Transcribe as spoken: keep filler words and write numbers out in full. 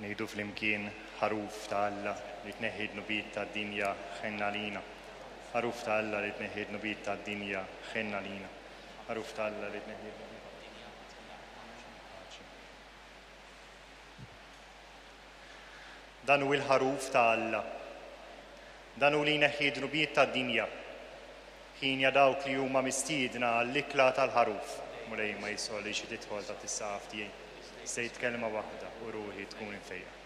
Ngħidu flimkien: Ħaruf ta' Alla li tneħħi dnubiet tad-dinja, ħenn għalina. Ħaruf ta' Alla li tneħħi dnubiet tad-dinja, ħenn għalina. Ħaruf ta' Alla li tneħħi dnubiet tad-dinja. Dan hu l-ħaruf ta' Alla. Dan hu li jneħħi dnubiet tad-dinja. Ħienja dawk li huma mistiedna għall-ikla tal-ħaruf. Mulej, ma jistħoqqlix li tidħol taħt is-saqaf tiegħi. Għid kelma waħda u ruħi tkun imfejqa.